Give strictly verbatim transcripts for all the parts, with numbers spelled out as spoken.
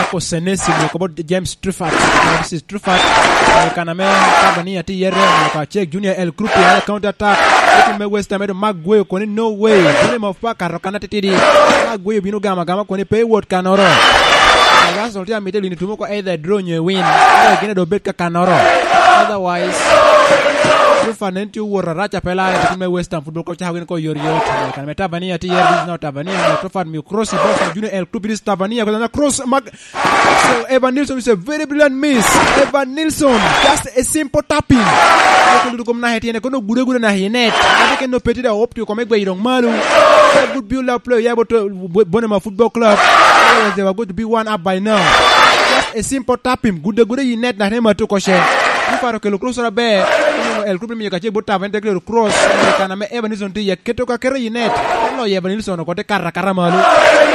Marco Senesi, omio kobo James Truffert. This is Truffert. Eh, kan ame Tabania tye iye, omio ka cek Junior El Krupi, ala counter attack. Eti me West Ham, edo Mark Guehi okoni, "No way." Bino mo pa kato kan atitidi. Mark Guehi obino gamo agama koni, "Pe iwot kanoro." Arsenal tye amito lino tumo ko either draw nyo win. Either gin edo bed ka kanoro. Otherwise, Truffert nen tye owot arac a pe lare, team me West Ham Football Club cako gin ko yot yot. Kan ame Tabania tye iye, this is now Tabania, omio Truffert mio cross i box, Junior El Krupi, this Tabania, kona cross, mag So Evan Nilsson is a very brilliant miss. Evan Nilsson, just a simple tapping. Eko luto kom nahe tyene, kono gude gude nahe i net. Ate ken no peti da opti kome gweyo dong malo. A good build up play, yeah, but, uh, Bo-, Bonema Football Club. Otherwise, they were going to be one up by now. Just a simple tapping. Gude gude i net nahe ma tuko she. Ni paro kelo cross ora be. El Krupi miyo kace bot tap, en te kelo cross. Kan ame Evan Nilsson tye, keto ka keto i net. Loyo Evan Nilsson oko te kara kara malo.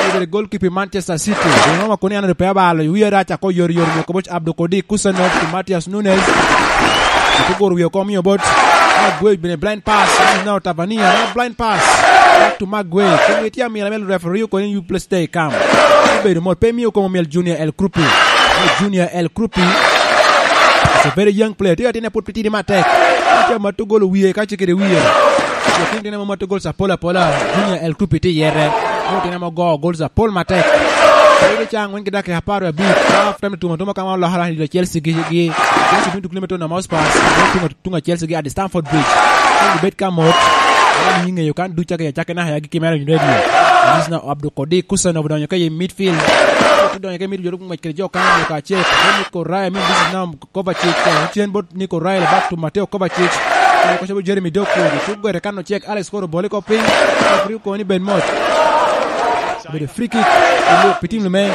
Obedo goalkeeper Manchester City. Dong ŋo ma koni an pe abalo, wie rac ako yori yori, mio kobo Abdul Kodir Kusanov to Matheus Nunes. Ito goro wie oko mio bot. Agwe bene blind pass. This is now Tabania. Now blind pass. Back to Magwe. Kumi tye amira mel referee koni you play stay calm. Ibedo mot pe mio komo mel Junior El Krupi. Junior El Krupi. It's a very young player. Tye atine put pitidi matek. Tye ma tugolo wie ka cikere wie. Lakin tye ma tugolo sapola pola. Junior El Krupi tye yere. Mo tye ma go gol sa pol matek. Ere ca angwen ki dakika apar abic. Half time tumo tumo ka ma olokere i Chelsea gi, gi. Chelsea bino tuko lime to na Mospas. Tumo tuŋ a Chelsea gi at Stamford Bridge. Kong obed ka mot. Wan ni ŋeyo kan duc cake, cake naka ya gi kimera in radio. This is now Abdul Kodir Kusanov odonyo ka i midfield. Odonyo ka i midfield, ngwec kede jo kan, ka cek. Nico Raya, I mean, this is now Kovacic, uh, cen bot Nico Raya, back to Mateo Kovacic. Koca bot Jeremy Doku, cuk gwere kan ocek, Alex Koro bole ko piny. Referee koni bed mot. Obedo free kick, pi tim me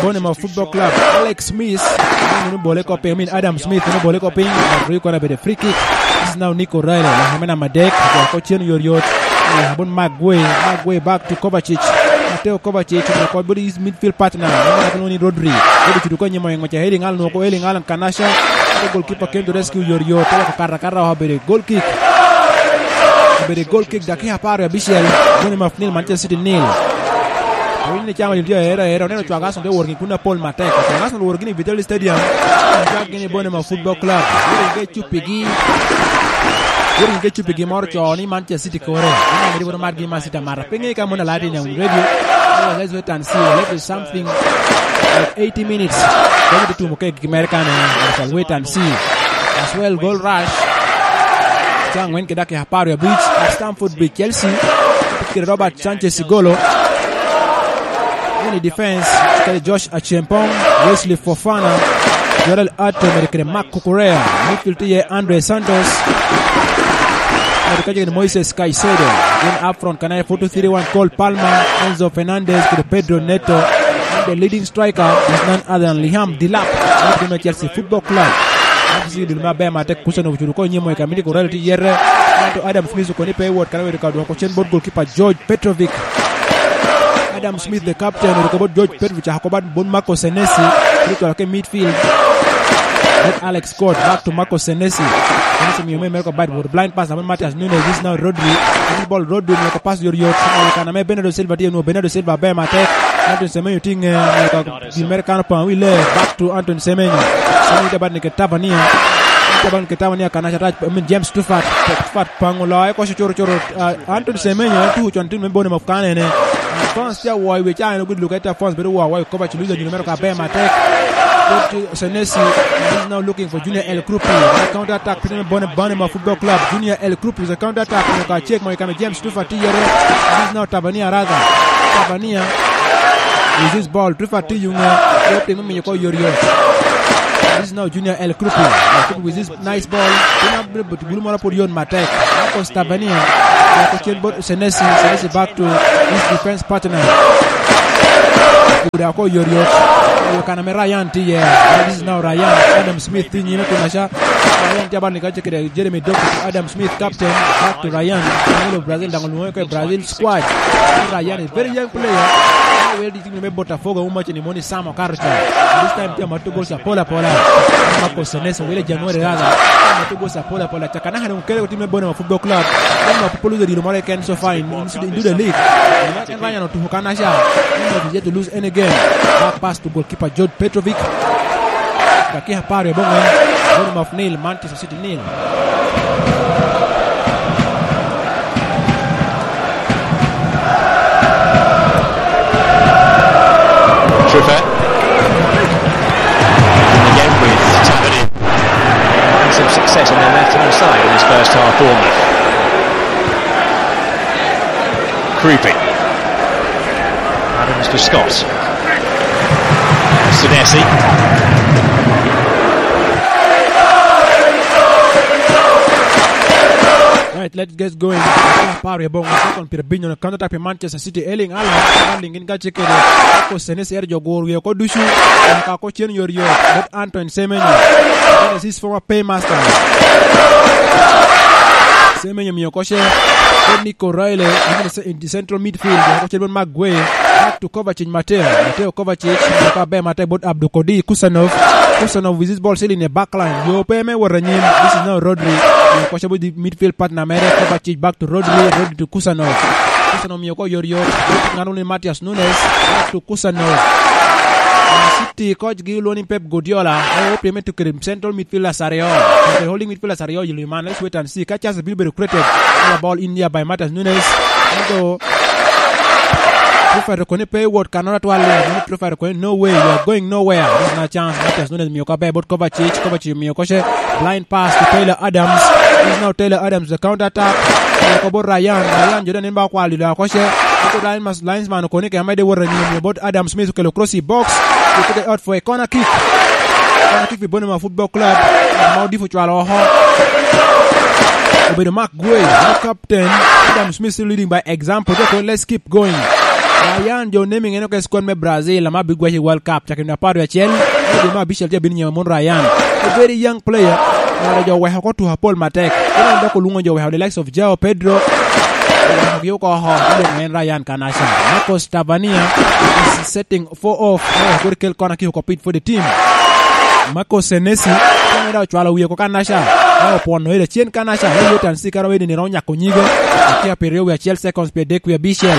Bonema Football Club. Alex Smith, eno bole ko piny, I mean, Adam Smith, eno bole ko piny. Referee kono obedo free kick. This is now Nico Raya, namba adek, ko cen yot yot. Abon Magwe, Magwe back to Kovacic. Mateo Kovacic, ko bot midfield partner, namba ni Rodri. Rodri cuto ko nyimo ngwec a Erling Haaland, nwoko Erling Haaland kanasha. Goalkeeper Kendo Rescue yot yot, tye ka kato akata, obedo goal kick. Obedo goal kick, dakika apar abicel. Bonema nil, Manchester City nil. Awinyo ni camo tye aero aero, oneno cwak Arsenal tye woro gin kun apol matek. Cwak Arsenal woro gin i Vitality Stadium. Cwak gin i Bonema Football Club. Woro gin ke cupigi. Woro gin ke cupigi moro co ni Manchester City kore. Ina meri woro margi Man City amata. Pe ŋe ka mon aladi na radio. Let's wait and see. Let is something like eighty minutes. Kami tutumo ke American, eh, we shall wait and see. As well, goal rush. Ca angwen kede dakika apar abic, at Stamford Bridge, Chelsea. Kede Robert Sanchez i golo. In the defense, kede Josh Achieng' Pong, Wesley Fofana, Jorel Ato, mere kede Marc Cucurella. Midfield tye Andre Santos. Mere kede Moises Caicedo. Then up front, kanaya four two three one, Cole Palmer, Enzo Fernandez, kede Pedro Neto. And the leading striker is none other than Liam Delap. Midfield me Chelsea Football Club. Chelsea dul maber matek, Kusanov ocuto ko nyimo i kamiti, Corral tye yere. Ento Adam Smith okoni pe wot, kan obedo ka dwoko cen bot goalkeeper George Petrovic. Adam Smith, the captain, oruko bot George Petrovic, ako bat bot Marco Senesi, kede cwalo ke midfield. Bot Alex Scott, back to Marco Senesi. Senesi miyo me America bat, bot blind pass, abot Matheus Nunes, this now Rodri. This ball Rodri, miyo ko pass yot yot. Kan ame Bernardo Silva tye, nwo Bernardo Silva ber matek. Anthony Semenyo tye nge, miyo ka gin mere kano pa wi le, back to Anthony Semenyo. Semenyo te bat ni ke Tabania. Te bat ni ke Tabania, kan aca tac, I mean, James Tufat. Tufat pango loye, koco coro coro, uh, Anthony Semenyo, en tuko con, tino me bone ma kane ne. Fans tye awoyo wi ca, en ogudo luke ta fans, bedo wa, wa, Kovac, Luis Angelomero ka ber matek. Go to Senesi, and he's now looking for Junior El Krupi. Counter attack, piny me bone, bone ma Football Club. Junior El Krupi is a counter attack, ka check mo i kame James Tufa tye yere. This is now Tabania rather. Tabania with this ball. Tufa tye yunge. Yo piny omiyo ko yot yot. This is now Junior El Krupi. El Krupi with this nice ball. Piny abiro but bulu moro pud yot matek. Marcos Tabania. Yako cen bot Senesi. Senesi back to his defense partner. Guda ko yot yot. Yo kana me Ryan tye. This is now Ryan. Adam Smith tye nyime kun aca. Ryan tye abal ni kace kede Jeremy Doku, Adam Smith, captain, back to Ryan. Angelo Brazil, dang olwonge ke Brazil squad. Ryan is very young player. Wele di tim me Botafogo, umache ni moni Sam okato ca. This time tye amato gol ca pola pola. Marcos Seneso, wele January raga. Amato gol ca pola pola. Caka naka dong kele ko tim me Bono Football Club. Bono Football Club dilo more ken so far in, in, in the league. Not in Ryan to Hukanacha. Not yet to lose any game. Back pass to goalkeeper George Petrovic. Dakika apar i abongwen. Bono Maf nil, Manchester City nil. Trippier. Again with Tavernier. Having some success on the left-hand side in his first half, Bournemouth. Creeping. Adams to Scott. Senesi. Right, let's get going. Apar i abong, second pira binyo na counter attack pi Manchester City. Erling Haaland, Haaland gin ka cekere. Ako Senesi ero jo goro wie oko ducu. Ka ko cen yor yor. But Antoine Semenyo. One is his former paymaster. Semenyo miyo ko ce. But Nico Riley, in the central midfield. Ko cen but Maguire. Back to Kovacic, Mateo. Mateo Kovacic, ka be Mateo but Abdu Kodi, Kusanov. Kusanov with his ball still in the back line. Yo pe me wot anyim. This is now Rodri. Miyo ko ce but the midfield partner mere. Kovacic back to Rodri. Rodri to Kusanov. Kusanov miyo ko yor yor. Ngano ni Matias Nunes. Back to Kusanov. City coach gi olwoŋo ni Pep Guardiola. Owo piem me tuko kede central midfielders aryo. Tuko kede holding midfielders aryo i luŋ man. Let's wait and see. Ka chance bino bedo created. Ball in here by Matias Nunes. Ento Truffer koni pe iwot kanoro atwal. Truffer koni, "No way, you are going nowhere." This is not chance. Matias Nunes miyo ka ber bot Kovacic. Kovacic miyo ko ce. Blind pass to Taylor Adams. This is now Taylor Adams, the counter attack. Miyo ko bot Ryan. Ryan jo den ba kwal dilo ko ce. Iko line mas, linesman koni ke amede wot anyim. Miyo bot Adam Smith okelo cross i box. He took it out for a corner kick. Corner kick pi Bonema Football Club. Ma Odifo cwalo oko. Obedo Mark Guay, ma captain. Adam Smith still leading by example. Just let's keep going. Ryan jo naming en oke squad me Brazil, ama bigwaco i World Cup. Cakere nino apar wiye acel. Edi ma abicel tye abino nyema mon Ryan. A very young player. Ngara jo weko ko tuko apol matek. Koro dok olwoŋo jo weko the likes of Joao Pedro. Owekogi oko oko. Iluŋo en Ryan Kanasha. Marcos Tavernier is setting four off. Oweko kodi kel kona ki oko pit for the team. Marcos Senesi. Kene da ocwalo wiye oko Kanasha. Oweko pwono ira cen Kanasha. Oweko yotan si kara wedi ni romo nyako nyige. Akia pi ryo wiye acel seconds pi adek wiye abicel.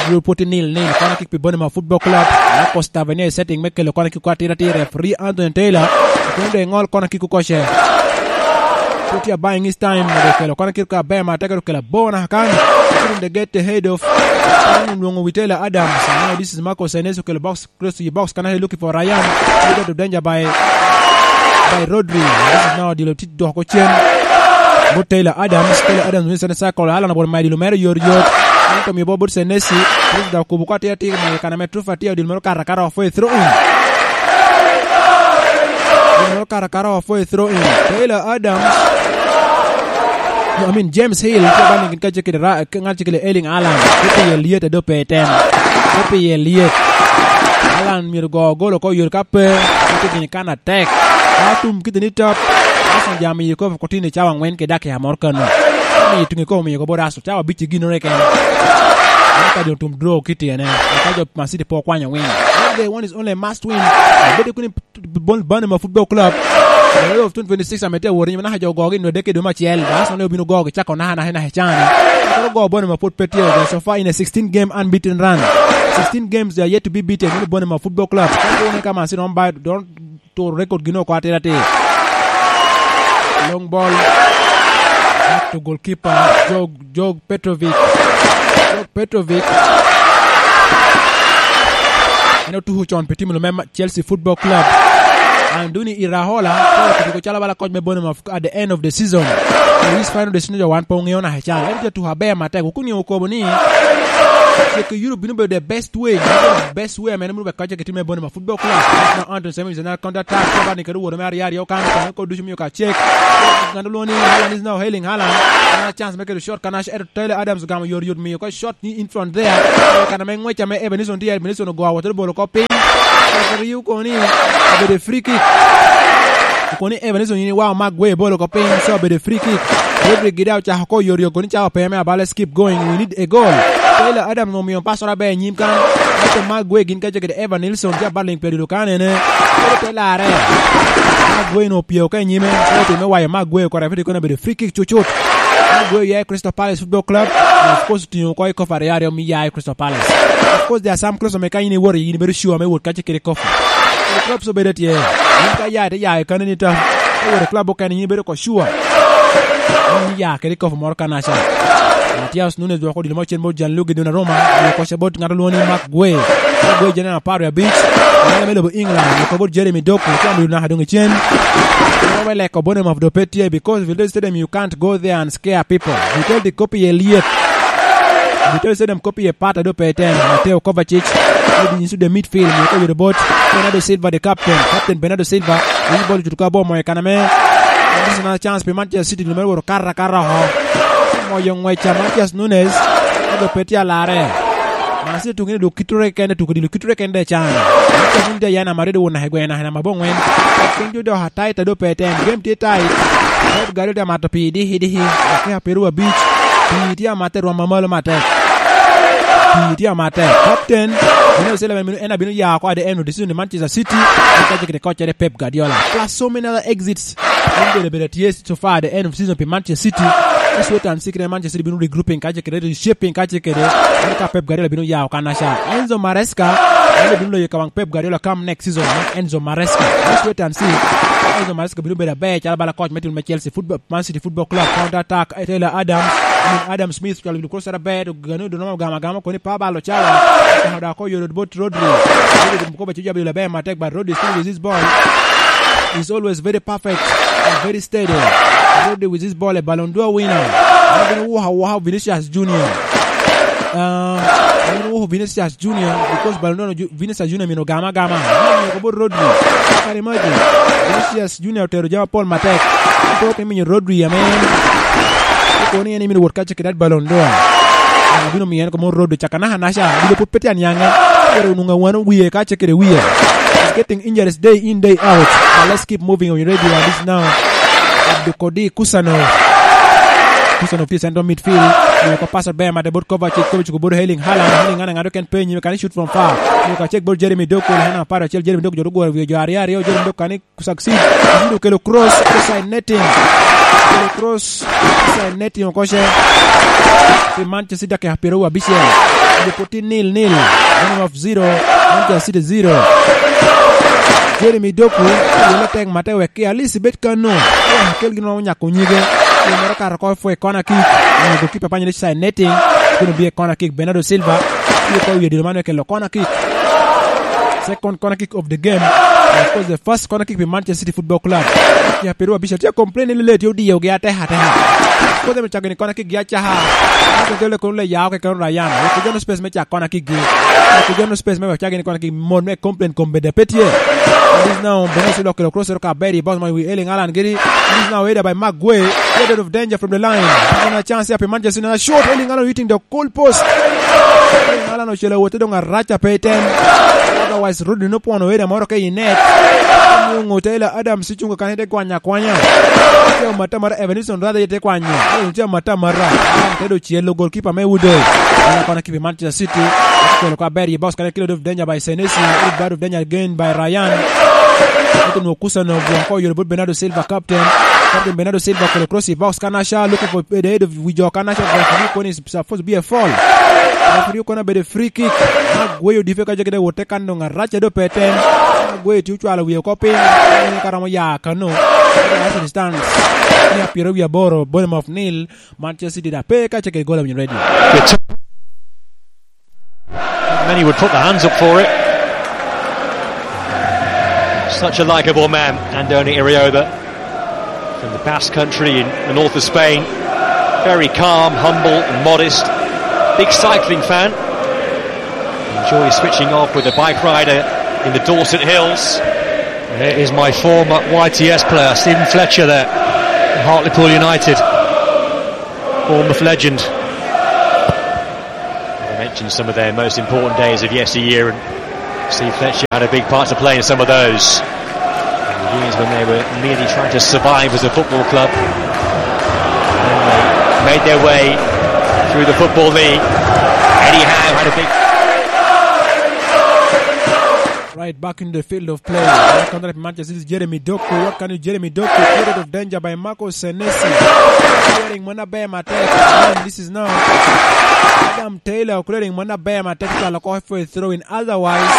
Drew poti nil nil. Kona kick pi Bonema Football Club. Marcos Tavernier setting me kelo kona kick atira atira. Referee Anthony Taylor. Kun de ngol kona kick oko ce. Poti a buying his time. Kelo kona kick aber ma teke kelo bona kan. Kun de get ahead of. Nungo Witela Adams. Now this is Marcos Senesi kelo box. Close to the box, Kanasha looking for Ryan. He got to danger by, by Rodri. This is now the Lotit Doko Chen. But Taylor Adams, Taylor Adams wins the circle. Alan Abol Maidi Lumero yor yor. Anto mi Bob Senesi. This is the Kubu Kwati Ati, my Kaname Trufa Tia, Dilmero Kara Kara for a throw in. Dilmero Kara Kara for a throw in. Taylor Adams. No, I mean, James Hill, kaba ni gin ka cekere ra, ŋat cekere Erling Haaland. Kupi ye liet a dope tem. Kupi ye liet. Alan myero go golo ko yore ka pe, ite gini kan atek. Ka tum kite ni top, Arsenal jami yi kopo kotini cawa angwen ke dakika moro kano. Kami yi tungi kopo miyo kopo raso, cawa bici gino reken. Aka jo tum draw kiti ene. Aka jo Man City po kwanyo win. What they want is only a must win. Bede kuni Bon-, Bonema Football Club. The World of twenty twenty-six ame tye awot, naka jo ogogi nwe dek i dwe me acel. Arsenal ne obino gogi cako naka, naka, naka i can. Koro go Bonema pwod pe tye, so far in a sixteen game unbeaten run. Sixteen games they are yet to be beaten. Meno Bonema Football Club. Koro ne ka Man City don't buy, don't to record gino oko atira atir. Long ball. Back to goalkeeper, Jog, Jog Petrovic. Jog Petrovic. En otuko con pi tim lume ma-, Chelsea Football Club. Andoni Iraola, koro otuko calo bala koc me Bonema at the end of the season. This final decision jo wan pe oŋeo naka ical. En tye tuko aber matek. Kun okobo ni, cek i Europe bino bedo the best way. The best way, man, bino bedo koc ke tim me Bonema Football Club. Now Anton Semenyo is another counter attack. Kaba ni kede woro me aryo aryo kan, kan ko ducu miyo ka cek. Ngano lwongo ni Haaland is now hailing Haaland. Ana chance me kelo shot, Kanasha, eto Taylor Adams ogamo yor yot miyo ko shot ni in front there. Kana me ngwec ame Ebenezer tye, Ebenezer ogo awot bolo ko piny. Referee okoni obedo free kick. Okoni Ebenezer ni, "Wow, Mark Gueye bolo ko piny." So obedo free kick. Rodri gida ocako ko yor yot koni cawa pe me abale, skip going. We need a goal. Taylor Adams omiyo pass ora be nyim kan. Captain Maguire gin kacel kede Evan Nilsson, tye abaling pi adilo kan ene. Kede te larre. Maguire onwoŋo opyeo ka i nyime. Kede otimo me wayo Maguire oko, referee kono obedo free kick cucut. Maguire oya i Crystal Palace Football Club. Of course, otingo oko i kofa aryo aryo me ya i Crystal Palace. Of course, there are some clubs ame ka in iwoto, in ibedo sure me wot kacel kede kofa. Clubs obedo tye. In ka ya, ite ya i kaneni ta. Ka iwoto i club okene, in ibedo oko sure. In iya kede kopo moro kanaca. Matias Nunes dwoko odilo mo cen bot Gianluigi Donnarumma, onwoŋo kocca bot ŋat olwoŋo ni Maguire. Maguire jene apar wie abic, ŋat me lobo England, onwoŋo bot Jeremy Doku, tye amiro naka doŋ i cen. Koro me leko Bournemouth doŋ pe tye, because Vitaly Stadium, you can't go there and scare people. Vitaly kop iye lyet. Vitaly Stadium kop iye pat a doŋ pe ten. Mateo Kovacic, Edin Nyisu the midfield, onwoŋo oyuto bot Bernardo Silva, the captain. Captain Bernardo Silva, winyo bol ocuto ka bot moyo i kana me. This is another chance pi Manchester City, nyo mere woro kara kara oko. Moyo ngwec a Matias Nunes, ento pe tye alarre. Man City tuŋ ene dok kitore kene, tuko dilo kitore kene de can. Matias Nunes tye aye namba aryo, won naka i gweno naka namba abongwen. Piny tye dok tight a doŋ pe ten. Game tye tight. Pep Guardiola tye amato pii dihi dihi. Dakika pyeraryo abic. Pii tye amatte rwom mamalo matek. Pii tye amatte. Captain, Bernardo Silva en abino ya oko at the end of the season i Manchester City. En kacel kede koccere Pep Guardiola. Plus so many other exits. En bene bene tye so far at the end of season pi Manchester City. Just wait and see kede Manchester City bino regrouping kacel kede, reshaping kacel kede. En ka Pep Guardiola bino ya oko kanaca. Enzo Maresca, en bino loyo ka waŋ Pep Guardiola come next season. Enzo Maresca. Just wait and see. Enzo Maresca bino bedo aber calo bala coach me team me Chelsea football. Man City Football Club, counter attack, eh, Tyler Adams, I mean, Adam Smith, cwalo wi cross aber, to gano dono gama gama koni pa balo cawa. Ka da ko yoro bot Rodri. Rodri ko ba ci jabi la be matek, but Rodri still with his ball. He's always very perfect and very steady. Rodri with his ball, a Ballon d'Or winner. Abino wuha wuha Vinicius Junior. Um, abino wuha Vinicius Junior because Ballon d'Or Ju-, Vinicius Junior mino gama gama. Mino ko bot Rodri. Can you imagine? Vinicius Junior otero jami apol matek. Apo ke minyo Rodri ame en. Ko ni en imino wot kacel kede Ballon d'Or. Abino miyo en ko mo Rodri caka naka naca. Abino put pete anyaŋe. Pero nunga wano wiye kacel kede wiye. He's getting injuries day in, day out. But let's keep moving on. Ready on this now. Abdukodi Kusanov. Kusanov tye i central midfield. Miyo ko pass aber made bot Kovacic. Kovacic ko bot Erling Haaland. Erling Haaland ŋado ken pe i nyime, can he shoot from far? Miyo ko check bot Jeremy Doku. Hana apar acel, Jeremy Doku jot ogworo wiye jo aryo aryo. Jeremy Doku can he succeed? Jeremy Doku okelo cross inside netting. Okelo cross inside netting oko ce. Pi Manchester City dakika pyeraryo abicel. Lipo tye nil nil. Minimum of zero. Manchester City zero. Jeremy Doku, yelo tek mate wek ki at least ibed kano. Wek kel gin ma onyako nyige. Gin moro kato oko for a corner kick. Onyo goalkeeper panye ni side netting. Kun obie corner kick. Bernardo Silva. Tye ka wiye dilo man okelo corner kick. Second corner kick of the game. And of course, the first corner kick pi Manchester City Football Club. Ya, Peru abicel tye complain ni lele tye odiyogi ateka ateka. Of course, emi cako ni corner kick gi acaha. Ento tye le kono le yao keken Ryan. Wek geno space me cak corner kick gi. Wek geno space me wek cak gini corner kick. Mon me complain kom bede pe tye. This now, Bernardo Silva okelo cross ero ka Berry, bounce man wi Erling Haaland giri. This now, header by Maguire. Get out of danger from the line. This is a chance here pi Manchester United. Shot, Erling Haaland hitting the goal post. Erling Haaland ocelo awote doŋ araca pe i tem. Otherwise, Rodri nopwono header moro ke i net. Onwoŋo Tyler Adams cuŋ kan ite kwanyo akwanya. Tye amata mara Evanilson Radha ite kwanyo. Tye amata mara. Tedo cielo goalkeeper me Udo. Ana kona kipi Manchester City. Kelo kwa Berry, bounce kan kelo out of danger by Senesi. Out of danger again by Ryan. Ito nwo Kusanov, won ko yoro bot Bernardo Silva, captain. Captain Bernardo Silva okelo cross i box, Kanasha looking for the head of Wijo Kanasha. Referee kono is supposed to be a foul. Referee kono bedo free kick. Maguire odipe ka jagede wote kan doŋ araca do pe ten. Maguire tye ocwalo wiye oko piny. Ni ka romo ya kano. Arsenal stands. Mia pyeraryo wiye aboro, Bournemouth nil. Manchester City da pe ka ceke goal when you're ready. Many would put their hands up for it. Such a likeable man, Andoni Iraola, from the Basque Country in the north of Spain. Very calm, humble, and modest. Big cycling fan. Enjoys switching off with a bike rider in the Dorset Hills. There is my former Y T S player, Stephen Fletcher, there, Hartlepool United. Bournemouth legend. They mentioned some of their most important days of yesteryear, and Steve Fletcher had a big part to play in some of those. In the years when they were merely trying to survive as a football club, and they made their way through the Football League. Eddie Howe had a big Right back in the field of play. Back on the Manchester City, Jeremy Doku. What can you, Jeremy Doku? Period of danger by Marco Senesi. Clearing mona be matek. And this is now Adam Taylor clearing mona be matek. Cwalo ko for a throw in. Otherwise,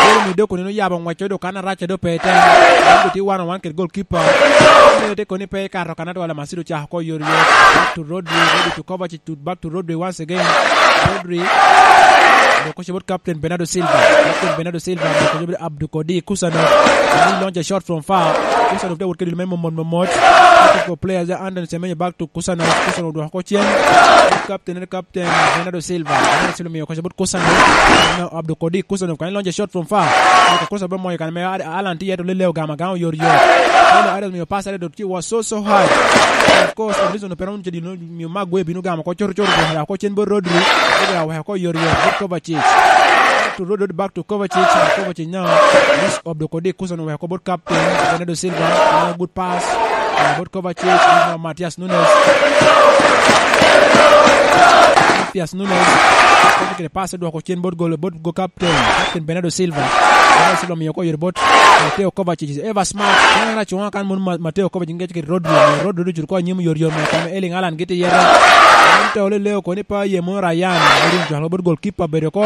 Jeremy Doku nino yabo ngwec odo kan arac do pe ten. Nino ti one on one kede goalkeeper. Nino te koni pe kato kan atwala, Masiro cako ko yor yor. Back to Rodri, Rodri to Kovacic, to, back to Rodri once again. Rodri. Dok koce bot Captain Bernardo Silva. Captain Bernardo Silva. Dok koce bot Abdukodi Kusanov. He launched a shot from far. Kusanov te wot kede lime momot momot. Back to players, Anton Semenyo back to Kusanov. Kusanov dwoko ko cen. Captain, Captain Bernardo Silva. Bernardo Silva miyo koce bot Kusanov. Now Abdukodi Kusanov. Can he launch a shot from far? Kusanov moyo kan me Alan tye to leleo gama gama yor yor. Taylor Adams miyo pass, Adams dot was so, so high. Of course, Evanilson Operon cedi miyo Maguire bino gamo ko coro coro, weko ko cen bot Rodri. Rodri aweko ko yor yor bot Kovacic. To Rodri, back to Kovacic. Kovacic now. This Abdukodi Kusanov weko bot captain Bernardo Silva. Now good pass. Uh, bot Kovacic. Now Matthias Nunes. Matthias Nunes. Kovacic kede pass dwoko cen bot gol, bot go captain. Captain Bernardo Silva. Bernardo Silva miyo ko yore bot Mateo Kovacic. Eva Smart. Kanya na chunga kan mun Ma-, Mateo Kovacic ngec kede Rodri. Rodri cuto ko anyim yor yor mo kame Erling Haaland giti yere. Ento leleo koni pa ye mo Ryan. Rodri cwalo bot goalkeeper bedo ko.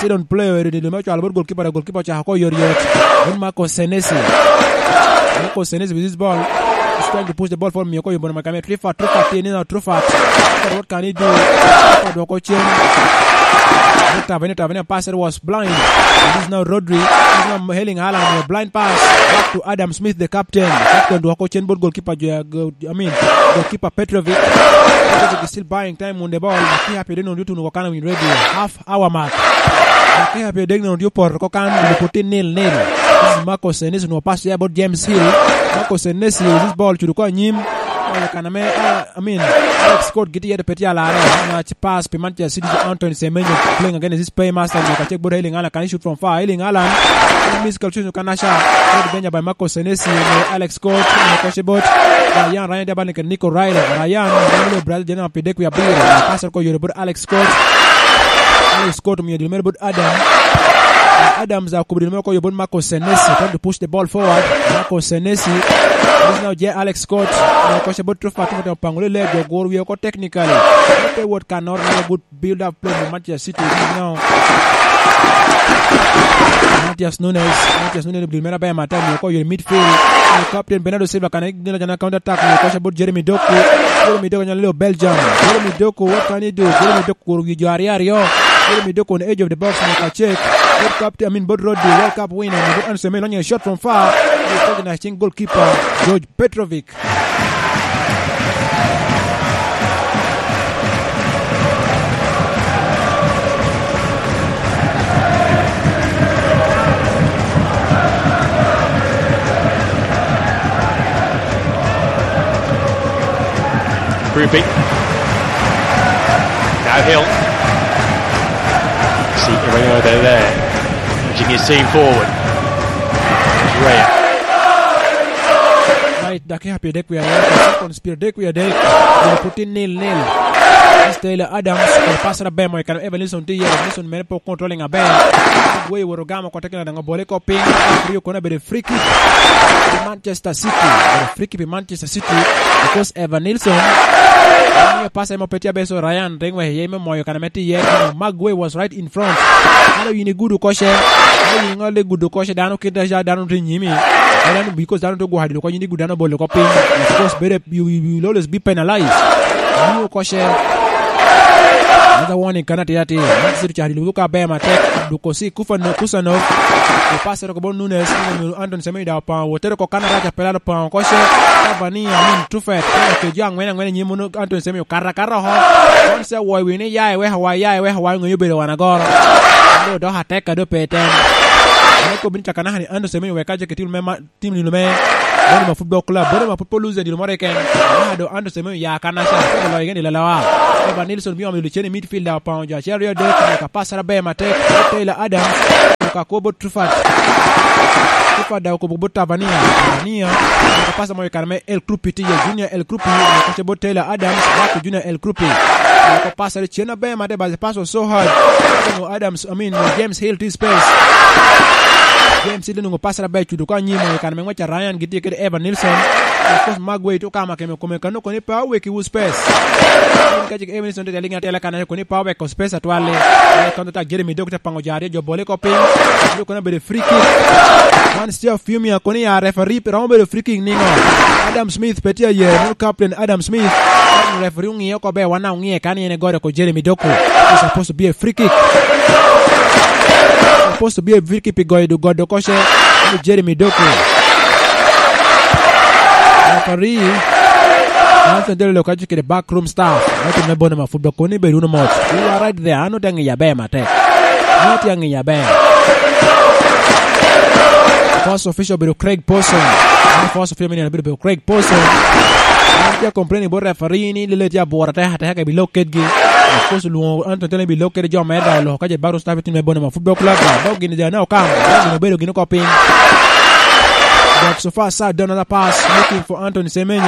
Sidon player eri dilo me cwalo bot goalkeeper, goalkeeper ocako ko yor yor. Bot Marco Senesi. Marco Senesi with this ball. He's trying to push the ball forward. Miyo ko yombo na kame Truffert, Truffert tye ni na Truffert. Truffert, what can he do? Truffert dwoko cen. Tavernier, Tavernier pass, it was blind. It is now Rodri. It is now Erling Haaland, a blind pass. Back to Adam Smith, the captain. Captain dwoko cen bot goalkeeper, jo, go-, I mean, goalkeeper Petrovic. Petrovic is still buying time on the ball. Dakika pyeraryo dek nonok tuno ko kan win radio. Half hour mark. Dakika pyeraryo dek nonok tye opor ko kan, putin nil nil. This is Marco Senesi, no pass ya bot James Hill. Marco Senesi, this ball cuto ko anyim. Oyo kan ame, uh, I mean, Alex Scott giti yeto pe tye alarre. Match pass pi Manchester City, Anthony Semenyo playing against this playmaster. Nyo ka check bot Erling Haaland, can he shoot from far? Erling Haaland, miss goal, shoot kan aca. Good danger by Marco Senesi, Alex Scott, nyo koce bot Ryan, Ryan Diabane kede Nico Riley. Ryan, Ryan Brazil, jena pi dek wi abiro. Pass ko yore bot Alex Scott. Alex Scott omiyo dilo mere bot Adam. Adams akubo dilo mere ko yore bot Marco Senesi. Trying to push the ball forward. Marco Senesi. This now J. Alex Scott. Nyo koce bot Truffert, Truffert opango lele, jo guro wie oko technically. Pe wot kanor, nyo good build up play mo Manchester City. Now Matthias Nunes, Matthias Nunes obilo mere aber matek, miyo ko yore midfield. Nyo captain Bernardo Silva kan nino jana counter attack, miyo koce bot Jeremy Doku. Jeremy Doku nyalo leo Belgium. Jeremy Doku, what can he do? Jeremy Doku kuro wi jo aryo aryo. Jeremy Doku on edge of the box, miyo ka check. Bot captain, I mean, bot Rodri, World Cup winner, miyo bot Anthony Semenyo, lonyo shot from far. Miyo koce na cing goalkeeper, George Petrovic. Grouping. Now Hill. See everyone over there. Jimmy C forward. It's Ray. Right, dakika pyerdek wie aryo, seconds pyerdek wie adek, gin pwod tye nil nil. Mister Taylor Adams, kun pass na ber mo i kare Evanilson tye iye, Evanilson mere pe controlling aber. Gueye wot ogamo oko tekina daŋ obole oko piny, rio kono abedo free kick. Manchester City, abedo free kick pi Manchester City, because Evanilson, miyo pass emo pe tye aber, so Ryan ring wek iye me moyo kare me tye iye, you know, Maguire was right in front. Ano yin igudo koce, ano yin ŋolo igudo koce, dano kit aca dano tye nyimi. Dano, because dano tye gwoko dilo ko, yin igudo dano bolo ko piny. Of course, bedo, you, you, you will always be penalized. Miyo koce. Another warning kan atir atir. Manchester City cako dilo ka ber matek. Duko si Kufano-, Kusanov. Opasero ko bot Nunes. Anton Semenyo da opao. Wotero ko kan arac apelalo opao koce. Cavani, I mean, Truffert. Ke jo angwen angwen i nyim munu Anton Semenyo kara kara ho. Once a woy wini ya i weka wa, ya i weka wa, ngeyo bedo wan agoro. Ando dok atek ka do pe tem. Ame ko bini caka naka ni Anton Semenyo weka je ke tim me ma-, tim dilo me Bonima Football Club. Bonima Football Loser dilo moro keken. Naka do Anton Semenyo ya kan aca. Ko loyo gen dilo lawa. Evanilson bi omo dilo cen i midfield da opao jo acel aryo adek. Ka pasara ber matek. Taylor Adams. Ka ko bot Truffert. Kepa daŋ okobo bot Tabania. Tabania, oko pasa mo i kare me El Krupi tye iye, Junior El Krupi, oko ce bot Taylor Adams, back to Junior El Krupi. Oko pasa ri cen aber made, but the pass was so hard. Onongo Adams, I mean, James Hill tye i space. James Hill onongo pasa aber cuto ko anyim i kare me ngwec a Ryan gitye kede Evan Nilsson. Of course, Magway tye okamo keme kome kano koni pa weki wu space. Ka cik Evan Nilsson tye liŋ atela kan koni pa weko space atwal-li. Ame kono tak Jeremy Doku te paŋo jo aryo jo bole ko piny. Doku kono obedo free kick. Wan Steve Fiumia kono ya referee pe romo bedo free kick niŋo? Adam Smith pe tye aye, meno captain Adam Smith. Referee oŋiyo ko be wan oŋiye kan yen egore ko Jeremy Doku. It's supposed to be a free kick. Supposed to be a free kick pi goyo godo koce. Jeremy Doku. Referee. Anthony Taylor ka kede backroom staff me tim me Bonema Football Club, koni bed wunu mot. You are right there. An otye aŋiyo aber matek. An otye aŋiyo aber. First official obedo Craig Pawson. An first official me nino obedo Craig Pawson. An tye a complain bot referee ni lele tye abworo atek ateka ka ebilok kedgi. Of course, olwoŋo Anthony Taylor ebilok kede jo mere daŋ oloko ka je backroom staff i tim me Bonema Football Club. Dok gin ja ne okamo. Dok gin obedo gin oko piny. But so far, Sa done another pass, looking for Anthony Semenyo.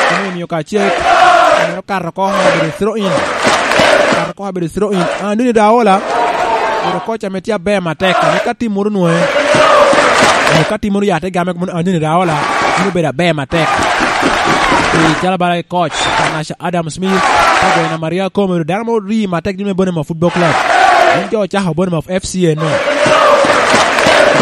Semenyo omiyo ka cek. Omito kato oko, obedo throw in. Kato oko, obedo throw in. Andoni Daola, obedo koc ame tye aber matek, ame ka tim moro nwoŋe, onyo ka tim moro ya te game, mono Andoni Daola, bino bedo aber matek. Pi calo bala i koc, Tanasha Adam Smith, ka goyo namba aryo akome, dano mo rii matek, dino me Bonema Football Club. Wun jo ocako Bonema F C eno.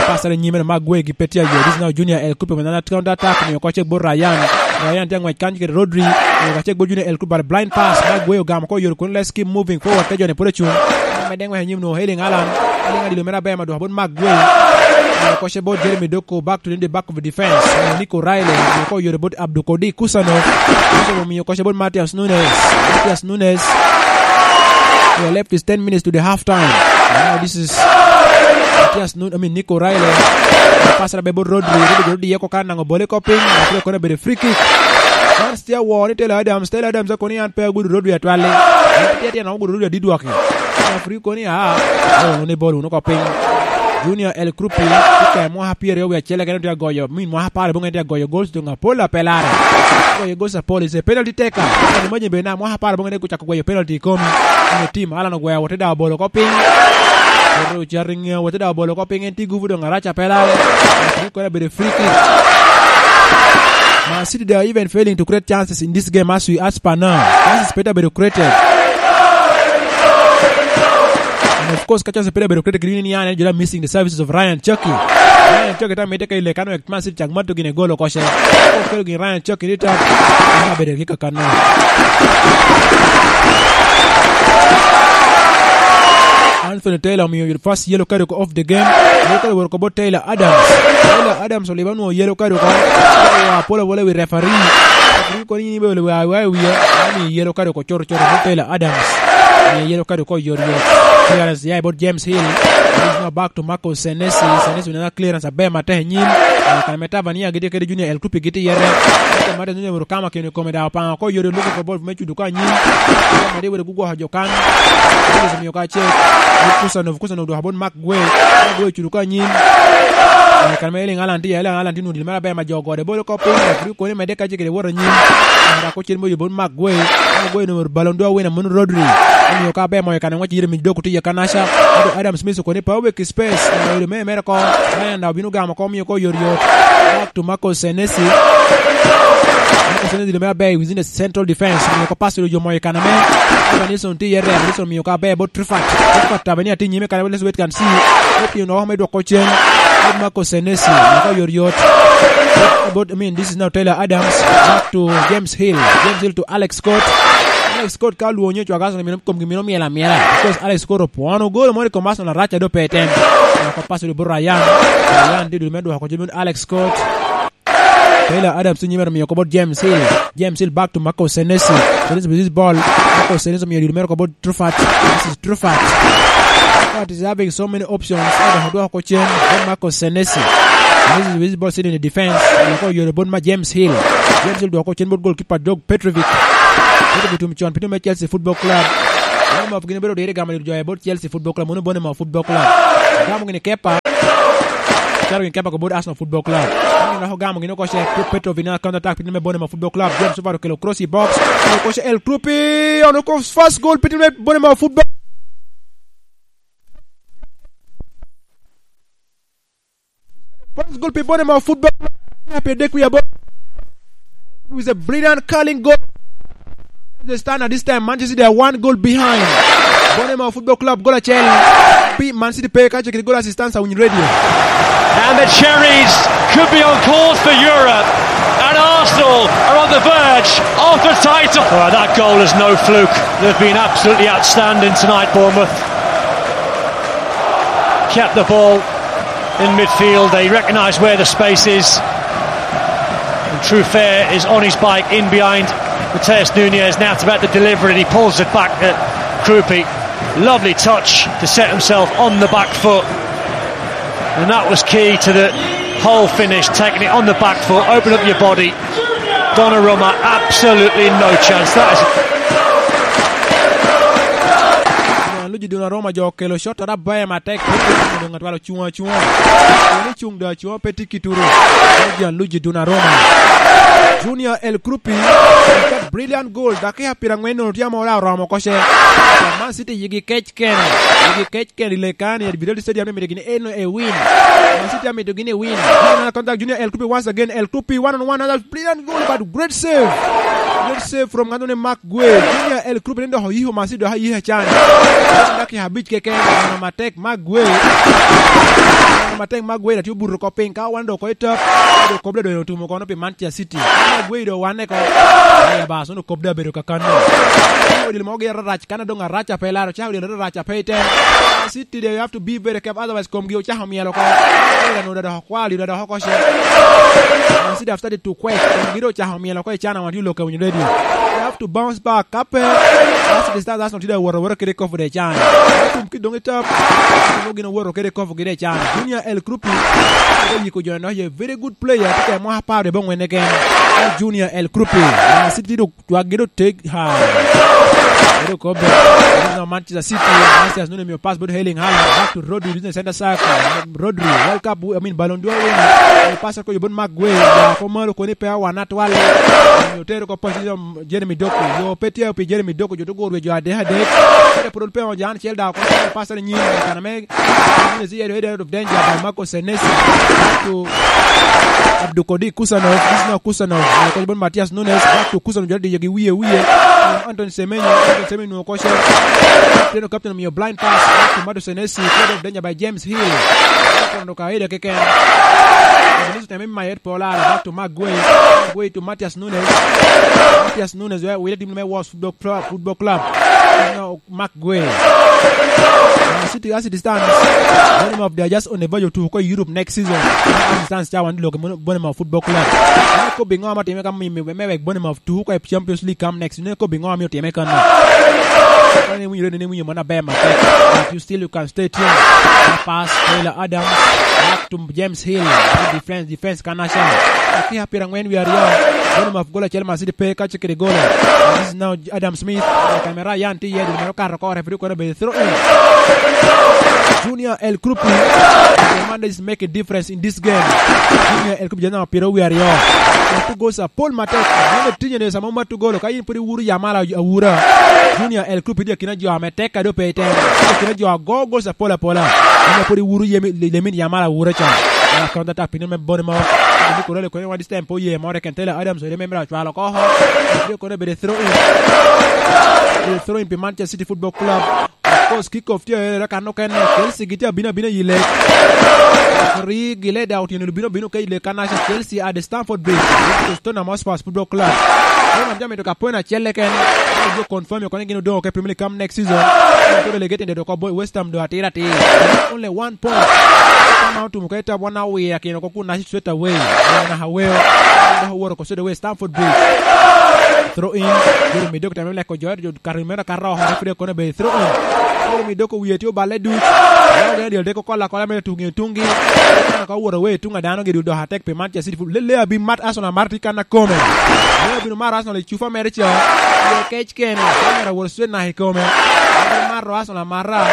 Pastor nyime na Magwe gi Petia yo. This now Junior El Kupe with another counter attack. Miyo koce bot Ryan. Ryan tye ngwec kan kede Rodri. Miyo koce bot Junior El Kupe, but blind pass. Magwe ogamo ko yoro kun, let's keep moving forward. Ke jone pwod acung. Medde ngwec anyim no, Erling Haaland. Erling Haaland dilo mere aber madwoko bot Magwe. Miyo koce bot Jeremy Doku, back to the back of the defense. Miyo Nico Riley. Miyo ko yoro bot Abdul Kodir Kusanov. Kusanov miyo koce bot Matheus Nunes. Matheus Nunes. We are left with ten minutes to the half time. Now this is Matthias Nun, I mean, Nico Riley. Pass na be bot Rodri. Rodri, Rodri yeko kan nango bole ko piny. Rodri kono bedo free kick. Chance tye awor ni Taylor Adams. Taylor Adams kono yan pe agudo Rodri atwal-li. Yan pe tye tye nango gudo Rodri adidwaki. Referee kono ya. Oh, ni bol uno ko piny. Junior El Krupi, tye ka mwaka pyeraryo wie acel, kene tye agoyo, min mwaka apar aboŋo en tye agoyo goals doŋ apol apelare. Goyo goals apol is a penalty taker. Kadi maje bed na mwaka apar aboŋo en tye ocako gweyo penalty i komi. Onyo tim Alan ogweo wote daŋ obolo oko piny. Wote ocato i ŋeo wote daŋ obolo oko piny, en tye gupu doŋ arac apelare. Referee kono abedo free kick. Man City, they are even failing to create chances in this game as we, as per now. Chances pe tye abedo created. And of course, ka chance pe tye abedo created, kede ni an en jolo missing the services of Ryan Chucky. Ryan Chucky ta mite ka ile kan wek Man City cak mato gine golo koce. Okelo gin Ryan Chucky ni ta. Ama bedo ki kakano. Anthony Taylor omiyo first yellow card oko of the game. Yellow card owoto oko bot Taylor Adams. Taylor Adams oliba nwo yellow card oko. Wa polo polo wi referee. Referee kono ni be wa wa wiye. Ami yellow card oko choro choro bot Taylor Adams. Ami yellow card oko yor yor. Clearance ya bot James Hill. He's now back to Marco Senesi. Senesi na clearance aber matek anyim. Kan me Tabania gitye kede Junior El Kupi gitye yere. Mate Junior Murukama kene kome da opanga ko yore luko ko bol me cudu ka anyim. Mate wede gugwoko jo kan. Omiyo ka ce. Kusanov, Kusanov dwoko bot Mark Gwe. Mark Gwe cudu ka anyim. Kan me Erling Haaland tye, Erling Haaland tye nudil mere aber ma jo gode bolo ko piny. Referee koni mede ka ce kede wot anyim. Mara ko cen boyo bot Mark Gwe. Mark Gwe numero Ballon d'Or winner mono Rodri. Omiyo ka aber moyo kan ngwec yire mi dok otiye ka Nasha. Adam Smith koni pa owek i space. Obedo mere mere ko. Ryan da obino gamo ko, omiyo ko yot yot. Back to Marco Senesi. Marco Senesi dilo mere aber within the central defense. Omiyo ko pass oyo moyo kan ame. Evan Nilsson tye iye rem. Nilsson omiyo ka aber bot Truffert. Truffert tabe ni atin nyime kan, let's wait and see. Opiyo no me dwoko cen. Bot Marco Senesi. Omiyo ko yot yot. Bot, I mean, this is now Taylor Adams. Back to James Hill. James Hill to Alex Scott. Alex Scott ka olwonyo cwag Arsenal mino komgi mino myel amyela. Because Alex Scott opwono golo moro i kom Arsenal arac a do pe tem. Wako pass odo bot Ryan. Ryan tye dul me dwoko jami Alex Scott. Taylor Adams nyime omiyo ko bot James Hill. James Hill back to Marco Senesi. Senesi with this ball. Marco Senesi omiyo dul mere ko bot Truffert. This is Truffert. Truffert is having so many options. Adwoko dwoko cen. Bot Marco Senesi. Senesi with this ball sitting in the defense. Dwoko yore bot ma James Hill. James Hill dwoko cen bot goalkeeper Dog Petrovic. Petrovic tum con, pitino me Chelsea Football Club. Bournemouth gin obedo odire gamo dul jo bot Chelsea Football Club, mono Bournemouth Football Club. Gamo gini Kepa. Caro gin keba ko bot Arsenal Football Club. Gin dok ogamo gin oko ce, Petrovic na counter attack, pito me Bournemouth Football Club. James Suarez okelo cross i box. Oko ce El Kroupi, ono ko first goal, pito me Bournemouth Football. First goal pi Bournemouth Football Club. Pire dek wie aboro. It was a brilliant curling goal. The stand at this time, Manchester City are one goal behind. Bournemouth Football Club goal acel. Pi Man City pe ka cekiri goal assistance a Winy Radio. And the Cherries could be on course for Europe. And Arsenal are on the verge of the title. Oh, that goal is no fluke. They've been absolutely outstanding tonight, Bournemouth. Kept the ball in midfield. They recognise where the space is. And Truffert is on his bike in behind Mateus Nuñez. Now it's about to deliver it. He pulls it back at Kroupi. Lovely touch to set himself on the back foot. And that was key to the whole finish, taking it on the back foot, open up your body. Donnarumma, absolutely no chance. That is Gianluigi Donnarumma jo okelo shot arabaem atek, pe tye kino ŋat walo cuŋ acuŋa. Koni cuŋ do acuŋa pe tye kituru. Gianluigi Donnarumma. Junior El Kroupi, brilliant goal, dakika pira ŋwen nono tye amora oromo oko ce. Man City yigi kec kene, yigi kec kene i lekani, at Vitality Stadium, ni mito gini eno e win. Man City amito gini e win. Contact Junior El Kroupi once again, El Kroupi one on one, another brilliant goal, but great save. Great save from ngano ne Mark Gueye. Junior El Kroupi ne dok oyiko Masidi dok ayiko acan. Dakika abic keken, neno matek Mark Gueye. Neno matek Mark Gueye, latye obuto oko piny, ka wan dok oko i top, dok kop ladonyo otumo kono pi Manchester City. Mark Gueye dok wanne ko. Aya bas, ono kop dok abedo kakano. Odilo mogo gire arac, kan adong arac ape laro, cako odilo arac ape i tem. City, they have to be very careful, otherwise komgi ocako myel oko. Ira no dok okwalo, ira dok oko ce. Man City have started to quake. Komgi dok ocako myel oko i cana wan tye loka winyo radio. They have to bounce back. Ka pe, Arsenal Stars Arsenal tye dok wot awota kede kofu de can. Tum ki dong i top. Tum gin owoto kede kofu gide can. Junior El Krupi. Oyiko jo no ye very good player. Tye ka mwaka apar de bongwene ken. Junior El Krupi. Man City dok Cwak gi do take high. Edo kobbe. No, Manchester City. Manchester City mio pass bot Erling Haaland. Back to Rodri, using the center circle. Rodri, World Cup, I mean, Ballon d'Or winner. Pass ko yobon Mark Gueye. Ya ko malo koni pe awan atwal. Otero ko pass, um, Jeremy Doku. Yo pe tye pi Jeremy Doku, jo to goro jo adek adek. Kede pwod pe on jan acel da ko pass ni nyin. Kana me Nunez, he headed out of danger by Marco Senesi. Back to Abdul Kodir Kusanov. This is now Kusanov. Now, Koch Bon Matthias Nunez. Back to Kusanov. Jodi gi wiye, wiye. Anthony Semenyo. Anthony Semenyo, Koch. Captain, captain, mio blind pass. Back to Marco Senesi. Headed out of danger by James Hill. Kondo ka ida keken. Nunez teme mayet pola. Back to Mark Gueye. Gueye to Matthias Nunez. Matthias Nunez, where we let him make Wolves Football Club. Football Club. Now, Mark Gueye. Uh, City, as it stands, Bournemouth, they are just on the verge of to go Europe next season. As it stands, cawan look at Bournemouth Football Club. Ane kobbi ŋo ma time ka mi, mi, me wek Bournemouth to go Champions League come next. Ane kobbi ŋo ma time kan. Ane winyo, ane winyo mana ber matek. But you still, you can stay tuned. Pass, Taylor Adams, back to James Hill. Defense, defense, Kanasha. Ati apira ngwen wi aryo. Bournemouth gol acel, Man City pe ka kede golo. This is now Adam Smith. Kamera yan tye iye, dul mere okato oko, referee kono obedo throw in. Junior El Krupi. The man that is make a difference in this game. Junior El Krupi, jana piro wi aryo. Two goals are Paul Matek. Mano tinye ne samo ma two goal. Ka in pwod iwuro Yamal awura. Junior El Krupi, di akina jo ame tek ka do pe item. Akina jo ago goals apola apola. In pwod iwuro yemi, lemin Yamal awura cha. Counter attack, piny me Bournemouth. Ni koro le kone wa this time po ye more ken Taylor Adams, ore memra cwalo ko ho. Ore kone bede throw in. Bede throw in pi Manchester City Football Club. Of course, kick off tye ere kan okene. Chelsea gitye abino abina i le. Referee gile da otyeno bino bino ke i le kan aca Chelsea at the Stamford Bridge. Tottenham Hotspur Football Club. Tottenham jami to ka point acel eken. Jo confirm yo kone gin odong ke Premier League come next season. Koro le gete ndo ko West Ham do atira atir. Only one point. Kama otumo ke tab wan awiya kino ko kun straight away. Wan aweo. Wan aworo ko straight away Stamford Bridge. Throw in. Jeremy Doku tame leko jo, jo kari mera karo, referee kono be throw in. Jeremy Doku wiye tye oballe duc. Wan ogeno dyel deko kola kola mere tungi tungi. Kono ka woro we tunga dano gi dul dok atek pi Manchester City. Lele abi mat Arsenal mar ti kan akome. Lele abino mar Arsenal i cufa mere cha. Ye kec kene. Kamera woro straight na i kome. Mato Arsenal amata.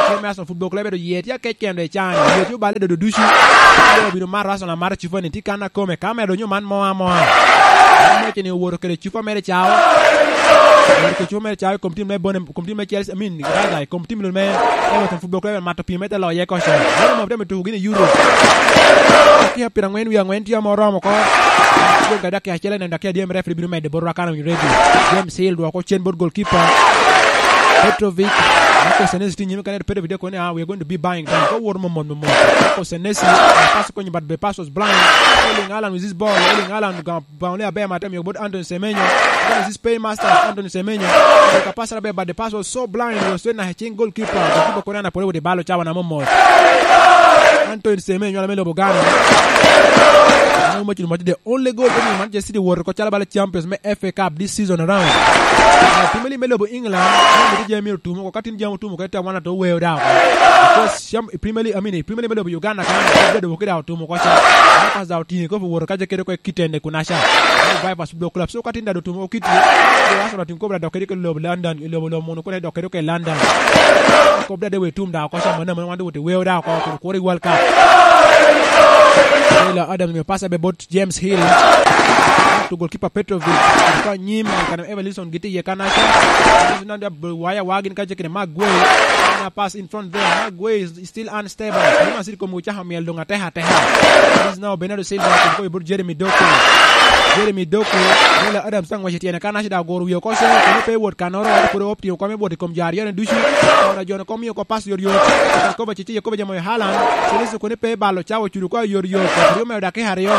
Kit me Arsenal Football Club bedo ye tye akec kende i can. Ye tye obale dodo ducu. Kede obino mato Arsenal amata cupa ni tye kan akome. Ka medo nyo man mo amoa. An mece ni owoto kede cupa mere cao. Owoto kede cupa mere cao i kom tim me Bone, kom tim me Chelsea, I mean, rather, i kom tim me Everton Football Club mato pii me te loye koca. Meno mo te me tuko gini i Europe. Ki apira angwen wi angwen tye amo oromo oko. Dong ka dakika acel enen dakika dyemere referee bino medde bot Rakana Winyi Rebi. James Hill dwoko cen bot goalkeeper. Petrovic. Marco Senesi tye nyime kene Petrovic dek kone, ah, we are going to be buying time. Ko wor momot momot. Marco Senesi, pass konyo but the pass was blind. Erling Haaland with this ball. Erling Haaland ga bawle aber ma te miyo bot Anthony Semenyo. Anthony is paymaster, Anthony Semenyo. Ka pass aber but the pass was so blind, was so na cing goalkeeper. Goalkeeper kone ana pole with the ball cawa na momot. Anthony Semenyo ala me lobo Ghana. Ano mo cino mo the only goal that Manchester City wor ko chala bala champions me F A Cup this season around. Premier League me lobo England, mo mito jami otumo ko katin jami otumo ko te wana to weo da. Because Premier League, I mean, Premier League me lobo Uganda kan, bedo wokida otumo ko cha. Pass da otingo ko wor ka je kede ko kitende kunacha. Vipers Football Club. So ka tin da do tumo kiti. Arsenal tin kobra dok kede ke lobo London, lobo lobo mono kone dok kede ke London. Kobra de we tum da ko sa mana mana wande wote weo da ko kuro kuro i World Cup. Taylor Adams me pasa be bot James Hill. To goalkeeper Petrovic. Ka nyim kan Evanilson giti ye kanacha. Nan da waya wagin ka jekene Maguire. Na pass in front there. Maguire is still unstable. Real Madrid kom ochako miel dong atek ateka. This is now Bernardo Silva, kun ko ibut Jeremy Doku. Jeremy Doku, Taylor Adams tang ngwec i tyene kan aci da goro wie oko cen, kun pe wot kanoro, ento pwod optimo kome bot i kom jo aryo ni ducu. Ora jo ni kom miyo ko pass yot yot. Kan koba cici Yakoba jamo i Haaland. Celeste kun pe balo cawa cudu ko yot yot. Rio me dakika aryo.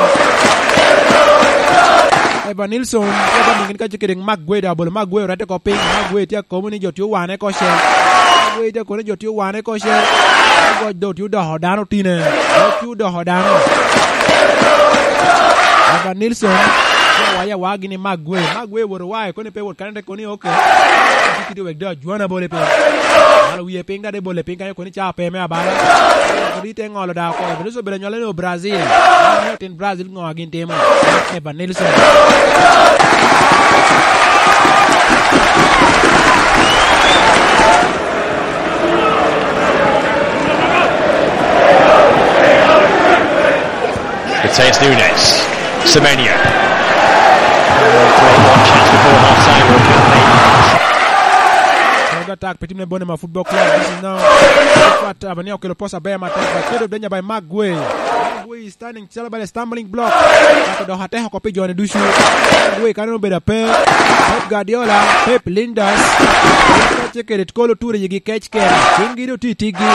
Evan Nilsson, Evan Nilsson ka cikiri Maguire da bolo Maguire rete ko piny. Maguire tye akobo ni jo tye owane ko cen. Maguire tye kono jo tye owane ko cen. Goc do tye odoko dano tine. Goc tye odoko dano. Evan Nilsson, tye awaye awa gini Maguire. Maguire wot owaye koni pe wot kane te koni oke. Tye kidi wek do ajwana bole pe. Malo wiye piny da de bole piny kane koni ca pe me abala. Kodi te ngolo da ko. Evan Nilsson bere nyole ni o Brazil. Tin Brazil ngo agin timo. Evan Nilsson. Mateus Nunes. Semenyo. Chance before half time. Counter attack, pe tim ne Bone ma Football Club. This is now. Fat Abania okelo posa ber matek. But Pedro Denya by Maguire. Maguire is standing calo bala stumbling block. Kato dok ateko ko pi jone ducu. Maguire kano obedo ape. Pep Guardiola, Pep Lindas. Tye kede kolo ture yigi kec kene. Cinggi do tye i tiggi.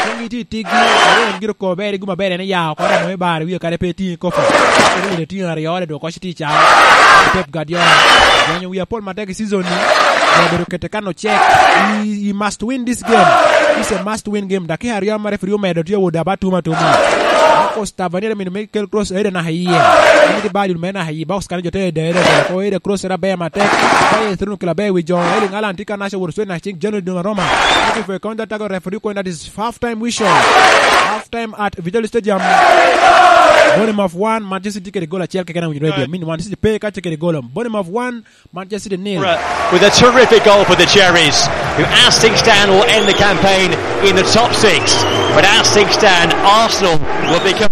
Cinggi tye i tiggi. Aryo en giro ko ber, iguma ber en iya oko, ramo me bar wie kare pe tye i kopo. Kede wede tye aryo, le dok koc tye i ca. Pep Guardiola. Gwenyo wi apol matek i season ni. Obedo kete kan ocek. He, he must win this game. It's a must win game. Dakika aryo ma referee omedo tye owodo aba tuma tuma. Marcos Tavernier mino me kel cross ere naka iye. Mino di bal me naka iye. Box kan jo te ede ede. Ko ere cross era ber matek. Ba ye through kila ber wi jo. Erling Haaland tye ka naca woro swe na cing January Donnarumma. Looking for a counter attack referee coin that is half time whistle. Half time at Vitaly Stadium. Bournemouth one, Manchester City kede goal acel keken awinyo radio. Min Manchester City pe ka kede goal. Bournemouth one, Manchester City nil. With a terrific goal for the Cherries, who, as things stand, will end the campaign in the top six. But as things stand, Arsenal will become